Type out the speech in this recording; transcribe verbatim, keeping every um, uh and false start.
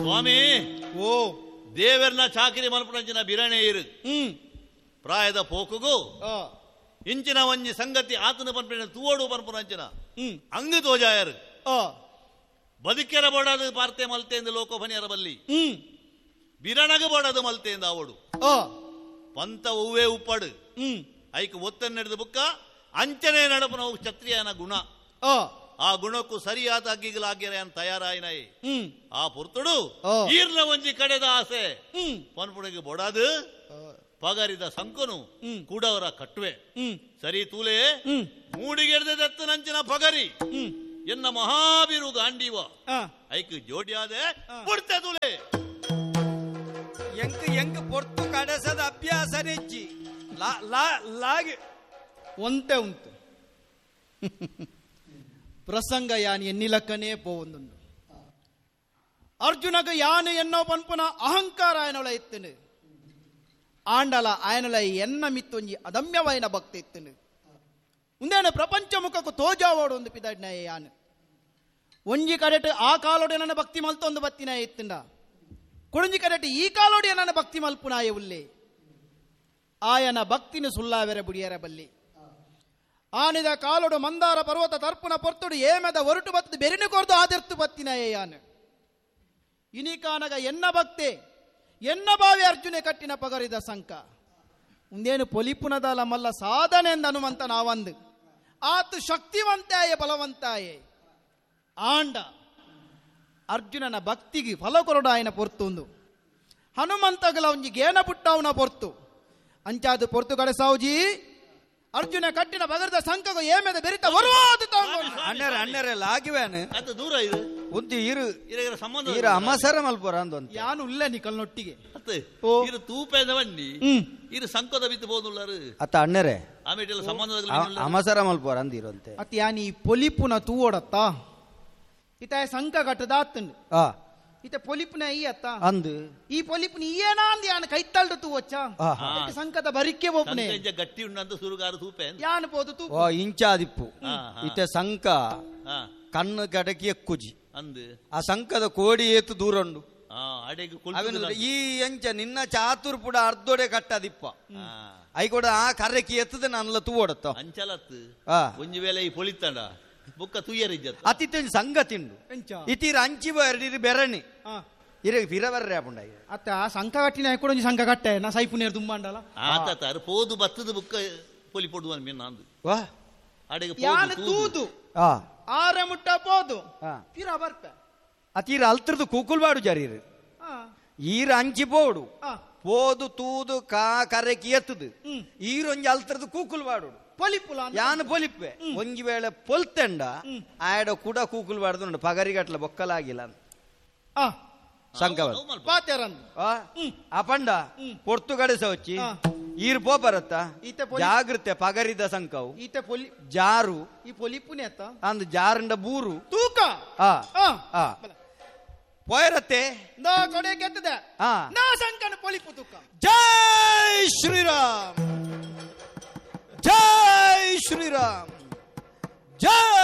ಸ್ವಾಮಿ ಓ ದೇವರ್ನ ಚಾಕಿರಿ ಮಲ್ಪುನಂಚಿನ ಬಿರಣೆ ಇರು ಹ್ಮ್ ಪ್ರಾಯದ ಪೋಕುಗು ಆ ಇಂಚಿನ ಒಂಜಿ ಸಂಗತಿ ಆತನ ಪನ್ಪಿನ ತೂವಡು ಪನ್ಪುನಂಚಿನ ಹ್ಮ್ ಅಂಗು ತೋಜಾಯರು ಆ ಬದುಕೆರ ಬೋಡದು ಪಾರ್ತೆ ಮಲ್ತೆಂದು ಲೋಕೋಫನಿಯರ ಬಲ್ಲಿ ಹ್ಮ್ ಬಿರಣಗ ಬೋಡದು ಮಲ್ತೆಂದು ಅವಡು ಆ ಪಂತ ಹೂವೇ ಉಪ್ಪಡು ಹ್ಮ್ ಐಕ್ ಒತ್ತನ್ನು ನಡೆದ ಬುಕ್ಕ ಅಂಚನೆ ನಡಪುನವು ಕ್ಷತ್ರಿಯನ ಗುಣ ಆ ಆ ಗುಣಕ್ಕೂ ಸರಿಯಾದ ಅಗ್ಗಿಗಳಾಗ್ಯರ ತಯಾರಾಯಿನೈ ಹ್ಮ್ ಆ ಪುರ್ತುಡು ಆ. ಈರ್ನ ಒಂಜಿ ಕಡೆದ ಆಸೆ ಹ್ಮ್ ಪನ್ಪುಣಿಗೆ ಬೊಡದು ಪಗರಿದ ಸಂಕನು ಹ್ಮ್. ಕೂಡವರ ಕಟ್ಟುವೆ ಹ್ಮ್ ಸರಿ ತೂಲೆ ಹ್ಮ್ ಮೂಡಿಗೆಡ್ದೆ ದತ್ತನಂಚಿನ ಪಗರಿ ಹ್ಮ್ ಎನ್ನ ಮಹಾಬೀರು ಗಾಂಡೀವ ಆ ಐಕ್ ಜೋಡಿಯಾದೆ ಆ. ಬುಡ್ತೆ ತೂಲೆ ಎಂಕ್ ಎಂಕ್ ಪೊರ್ತು ಕಡೆಸದ ಅಭ್ಯಾಸ ನೆಜ್ಜಿ ಲಾ ಲಾ ಲಾಗಿ ಒಂತೆ ಉಂಟು ಪ್ರಸಂಗ ಯಾನ್ ಎನ್ನಿಲಕ್ಕನೇ ಪೋವೊಂದುಂಡು ಅರ್ಜುನಗ ಯಾನು ಎನ್ನೋ ಪನ್ಪುನ ಅಹಂಕಾರ ಆಯನೊಳ ಇತ್ತನು ಆಂಡಲ ಆಯನೊಳ ಎನ್ನ ಮಿತ್ತೊಂಜಿ ಅದಮ್ಯವಾಯಿನ ಭಕ್ತಿ ಇತ್ತನು ಉಂದೇನ ಪ್ರಪಂಚ ಮುಖಕ್ಕೂ ತೋಜಾವೋಡು ಒಂದು ಪಿದಡ್ನ ಯಾನು ಒಂಜಿ ಕಡೆಟ್ ಆ ಕಾಲೋಡೆ ನನ್ನ ಭಕ್ತಿ ಮಲ್ತೊಂದು ಬತ್ತಿನ ಇತ್ತಂಡ ಕೊಡಂಜಿ ಕಡೆಟ್ ಈ ಕಾಲೋಡಿ ನನ್ನ ಭಕ್ತಿ ಮಲ್ಪುನಾಯ ಉಲ್ಲೆ ಆಯನ ಭಕ್ತಿನ ಸುಲ್ಲಾವೆರ ಬುಡಿಯರ ಬಲ್ಲಿ ಆನಿದ ಕಾಲೊಡು ಮಂದಾರ ಪರ್ವತ ತರ್ಪುನ ಪೊರ್ತುಡು ಏಮೆದ ಒರಟು ಬತ್ತದ ಬೆರಿನ ಕೊರ್ದು ಆದಿರ್ತು ಬತ್ತಿನ ಯಾನು ಇನಿಕಾನಗ ಎನ್ನ ಭಕ್ತೆ ಎನ್ನ ಬಾವಿ ಅರ್ಜುನೆ ಕಟ್ಟಿನ ಪಗರಿದ ಸಂಕ ಉಂದೇನು ಪೊಲಿಪುನದಲ ಮಲ್ಲ ಸಾಧನೆ ಎಂದ ಹನುಮಂತ ನಾವಂದು ಆತು ಶಕ್ತಿವಂತಾಯೆ ಬಲವಂತಾಯೆ ಆಂಡ ಅರ್ಜುನನ ಭಕ್ತಿಗೆ ಫಲ ಕೊರಡು ಆಯನ ಪೊರ್ತುಂದು ಹನುಮಂತಗಲ ಒಂಜಿ ಗೇನ ಪುಟ್ಟವನ ಪೊರ್ತು ಅಂಚಾದು ಪೊರ್ತು ಕಡೆಸಾವುಜಿ ಅರ್ಜುನ ಕಟ್ಟಿನ ಬಗರದ ಸಂಕಗ ಏಮೆದ ಬೆರಿತ ಬರುವಾದ ಅಣ್ಣರ ಅಣ್ಣರ ಲಾಗಿವೇನು ಅದು ದೂರ ಇದು ಉಂತಿ ಇರು ಇರಗರ ಸಂಬಂಧ ಇರು ಅಮಸರ ಮಲ್ಪುರ ಅಂದೊಂತೆ ಯಾನು ಉಲ್ಲ ನಿಕಲ್ನೊಟ್ಟಿಗೆ ಅತ್ತೆ ಓ. ಇರು ತೂಪೆದ ಬನ್ನಿ ಹ್ಮ್ ಇರು ಸಂಕದ ಬಿತ್ತು ಬೋದುಳ್ಳಾರು ಅತ್ತ ಅಣ್ಣರೇ ಆಮೇಲೆ ಸಂಬಂಧದ ಅಮಸರ ಮಲ್ಪುರ ಅಂದಿರಂತೆ ಅತ್ ಯಾನಿ ಪೊಲಿಪುನ ತೂವೋಡತ್ತ ಇತ ಸಂಕ ಕಟ್ಟದಾತಂಡು ಆ ಇತ ಪೊಲಿಪುನ ಈ ಅತ್ತ ಅಂದು ಈ ಪೊಲಿಪುನ ಏನ ಅಂದ್ ಯಾನ್ ಕೈತಲ್ಡು ತೂವಚ್ಚ ಆ ಅದಕ್ಕೆ ಸಂಕದ ಬರಿಕೆ ಒಬ್ಬನೇ ಸಂಕಂಜ ಗಟ್ಟಿ ಉಂಡಂತ ಸುರುಗಾರು ತೂಪೆ ಅಂದ. ಯಾನ್ ಪೋದು ತೂ ಓ ಇಂಚಾದಿಪ್ಪು ಆ, ಆ. ಇತ ಸಂಕ ಆ, ಕಣ್ಣು ಕಡಕಿ ಎಕ್ಕುಜಿ ಅಂದು ಆ ಸಂಕದ ಕೋಡಿ ಏತು ದೂರ ಉಂಡು ಆ ಅಡೆಗೆ ಅವೆನು ಕೊಳ್ತುದು ಈ ಎಂಚ ನಿನ್ನ ಚಾತುರ್ ಪುಡ ಅರ್ಧೋಡೆ ಕಟ್ಟದಿಪ್ಪ ಆ, I ಕೂಡ ಆ ಕರ್ರಕಿ ಎತ್ತದ ನನ್ಲ ತೂವಡತ್ತ ಅಂಚಲತ್ತು ಆ ಒಂಜಿ ವೇಳೆ ಈ ಪೊಳಿತಂಡ ಬುಕ್ಕ ತುಯ್ಯರಿಜ್ಜತ್ತ ಅತಿತ್ತ ಸಂಘ ತಿಂಡು ಎಂಚ ಇತೀರ ಅಂಚಿ ಎರಡಿರು ಬೆರಣಿ ಆ. ಇರ ಫಿರವರ್ರೆ ಆಪುಂಡ ಅತ್ತ ಆ ಸಂಕ ಕಟ್ಟಿನ ಕೂಡ ಒಂಜಿ ಸಂಕ ಕಟ್ಟೆ ನಾ ಸೈಪುನೇರ್ ತುಂಬಾಂಡಲ ಆತ ತಾರು ಪೋದು ಬತ್ತದ ಬುಕ್ಕ ಪೊಲಿ ಪೊಡುವ ಮೀನ್ ಅಂದು ವಾ ಅಡೆಗೆ ಯಾನ್ ಪೋದು ತೂದು ತೂದು ಆ ಆರ ಮುಟ್ಟ ಪೋದು ಆ. ಪಿರ ಬರ್ಪೆ ಅತೀರ ಅಲ್ತ್ರದು ಕೂಕುಲ್ಬಾಡು ಜರೀರು ಆ, ಈರ ಅಂಚಿ ಪೋಡು ಆ. ಪೋದು ತೂದು ಕಾ ಕರೆಕಿ ಎತ್ತದು ಹ್ಮ್. ಈರೊಂಜಿ ಅಲ್ತ್ರದು ಕೂಕುಲ್ಬಾಡು ಪೊಲಿಪುಲ ಅಂದ್. ಯಾನ್ ಪೊಲಿಪ್ಪೆ ಒಂಜಿ ವೇಳೆ ಪೊಲ್ತೆಂಡ ಆಯಡ ಕೂಡ ಕೂಕುಲ್ ಬಾಡ್ದು ಉಂಡು ಪಗರಿಗಟ್ಲ ಬೊಕ್ಕಲಾಗಿಲ್ಲ ಅಂತ. ಆ ಸಂಕವ ಅವು ಮಲ್ಪ. ಪಾತೆರಂದು ಆ ಆ ಪಂಡ ಪೊರ್ತು ಕಡೆಸ ವಚ್ಚಿ ಆ. ಈರ್ ಪೋಪರತ್ತ ಈತ ಪೊಲಿ- ಜಾಗೃತೆ ಪಗರಿದ ಸಂಕವು ಈತ ಪೊಲಿ ಜಾರು ಈ ಪೊಲಿಪುನೆ ಅತ್ತ ಅಂದ್ ಜಾರಂಡ ಬೂರು ತೂಕ ಆ ಆ. ಆ ಪೋಯರತ್ತೆ ನಾ ಕೊಡೆ ಕೆತ್ತದೆ ಆ ನಾ ಸಂಕನ ಪೊಲಿಪು ತೂಕ ಜೈ ಶ್ರೀರಾಮ್ ಜೈ ಶ್ರೀರಾಮ್ ಜೈ